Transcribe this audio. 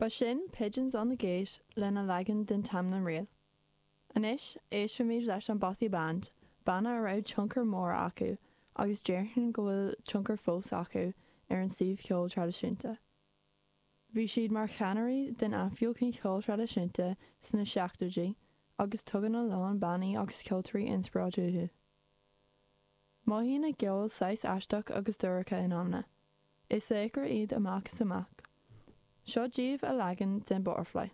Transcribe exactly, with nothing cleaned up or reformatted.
Ba sin Pigeons on the Gate lena leagan den Tamlin Reel. Anois éistfimid leis an Bothy Band, banna a raibh tionchar mór acu agus déarfainn go bhfuil tionchar fós acu ar an suíomh ceol traidisiúnta. Bhí siad mar cheannairí den athbheochan cheol traidisiúnta sna seachtóidí agus tugann a lán bannaí agus ceoltóirí inspioráid uathu. Mothaíonn a gceol saghas aisteach agus dorcha in amanna. Is laochra iad amach is amach. Seo díobh a leagan den Butterfly.